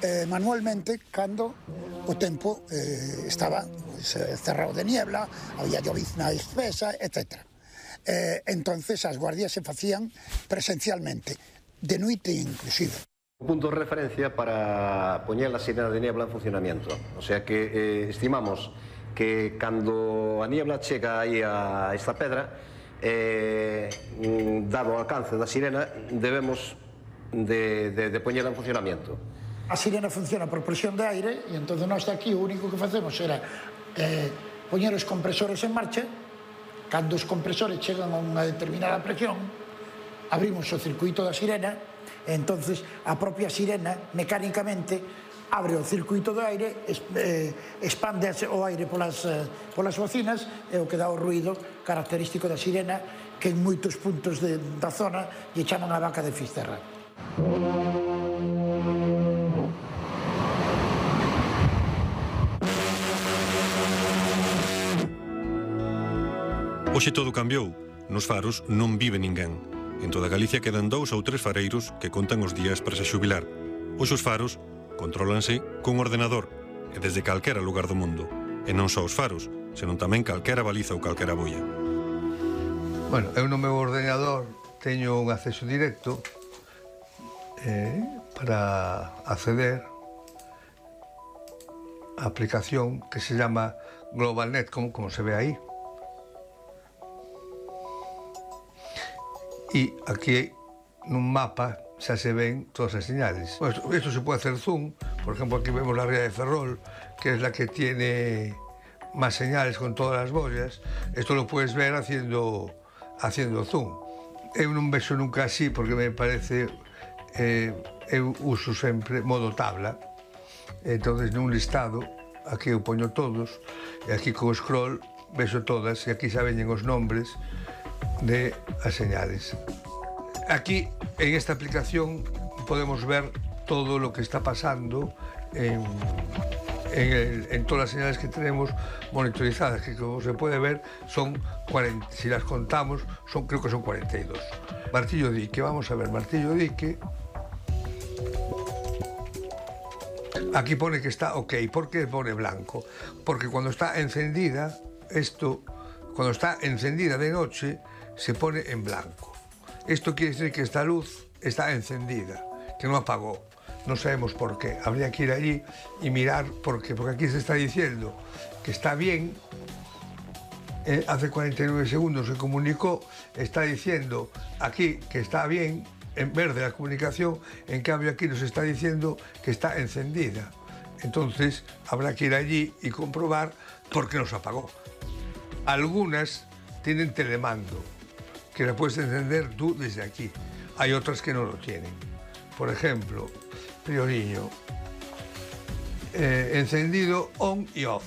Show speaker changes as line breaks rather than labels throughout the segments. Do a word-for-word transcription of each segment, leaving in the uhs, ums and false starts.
eh, manualmente cando o tempo eh, estaba pues, cerrado de niebla, había llovizna espesa, etcétera. Eh, entonces as guardias se facían presencialmente, de noite inclusive.
Un punto de referencia para poñer a sirena de niebla en funcionamiento. O sea que eh, estimamos que cando a niebla chega aí a esta pedra, eh, dado o alcance da sirena, debemos de, de, de poñela en funcionamiento.
A sirena funciona por presión de aire e entón nós aquí o único que facemos era eh, poñer os compresores en marcha. Cando os compresores chegan a unha determinada presión, abrimos o circuito da sirena e entonces a propia sirena mecánicamente abre o circuito do aire, expande o aire polas, polas bocinas e o que dá o ruído característico da sirena que en moitos puntos de, da zona lle chaman a vaca de Fisterra.
Hoxe todo cambiou. Nos faros non vive ninguén. En toda Galicia quedan dous ou tres fareiros que contan os días para se xubilar. Hoxe os faros contrólanse cun ordenador e desde calquera lugar do mundo. E non só os faros, senón tamén calquera baliza ou calquera boia.
Bueno, eu no meu ordenador teño un acceso directo eh, para acceder á aplicación que se llama GlobalNet, como, como se ve aí. E aquí nun mapa xa se ven todas as señales. Pues esto se puede hacer zoom. Por ejemplo, aquí vemos la ría de Ferrol, que es la que tiene más señales con todas las boyas. Esto lo puedes ver haciendo, haciendo zoom. Eu non vexo nunca así porque me parece... Eh, eu uso sempre modo tabla. Entonces, nun listado, aquí eu poño todos, e aquí co scroll vexo todas, e aquí xa veñen os nombres de as señales. Aquí, en esta aplicación, podemos ver todo lo que está pasando en, en, el, en todas las señales que tenemos monitorizadas, que como se puede ver, son cuarenta, si las contamos, son, creo que son cuarenta y dos. Martillo dique, vamos a ver, martillo dique. Aquí pone que está ok. ¿Por qué pone blanco? Porque cuando está encendida, esto, cuando está encendida de noche, se pone en blanco. Esto quiere decir que esta luz está encendida, que no apagó. No sabemos por qué. Habría que ir allí y mirar por qué. Porque aquí se está diciendo que está bien. Eh, hace cuarenta y nueve segundos se comunicó, está diciendo aquí que está bien, en verde la comunicación, en cambio aquí nos está diciendo que está encendida. Entonces habrá que ir allí y comprobar por qué nos apagó. Algunas tienen telemando, que la puedes encender tú desde aquí. Hay otras que no lo tienen. Por ejemplo, Prioriño, eh, encendido on y off.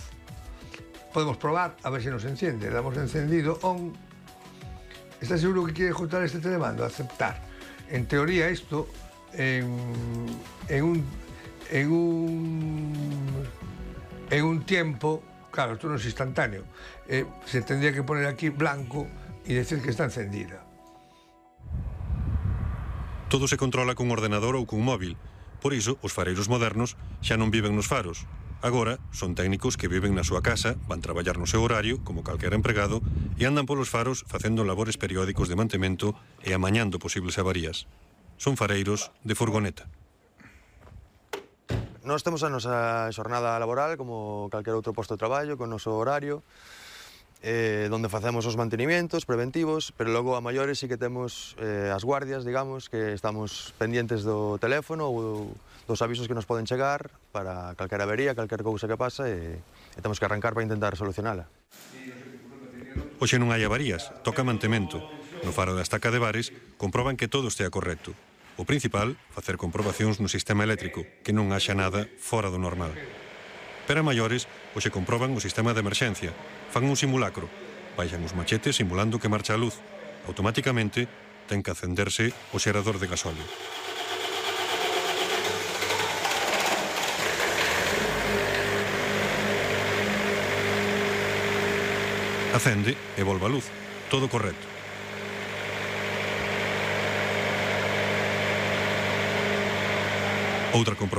Podemos probar a ver si nos enciende. Damos encendido on. ¿Estás seguro que quiere ejecutar este telemando? Aceptar. En teoría esto, en, en, un, en, un, en un tiempo, claro, esto no es instantáneo, eh, se tendría que poner aquí blanco y decir que está encendida.
Todo se controla cun ordenador ou cun móvil. Por iso, os fareiros modernos xa non viven nos faros. Agora, son técnicos que viven na súa casa, van traballar no seu horario, como calquera empregado, e andan polos faros facendo labores periódicos de mantemento e amañando posibles avarías. Son fareiros de furgoneta.
Nós temos a nosa xornada laboral como calquer outro posto de traballo, con o noso horario, eh, donde facemos os mantenimentos preventivos, pero logo a maiores sí que temos eh, as guardias, digamos, que estamos pendientes do teléfono ou dos avisos que nos poden chegar para calquera avería, calquer cousa que pasa e, e temos que arrancar para intentar solucionala.
Hoxe non hai avarías, toca mantemento. No faro da estaca de Bares comproban que todo estea correcto. O principal, facer comprobacións no sistema eléctrico, que non haxa nada fora do normal. Pero a maiores, hoxe comproban o sistema de emerxencia. Fan un simulacro. Baixan os machetes simulando que marcha a luz. Automáticamente, ten que acenderse o xerador de gasóleo. Acende e volve a luz. Todo correcto. Outra comprobación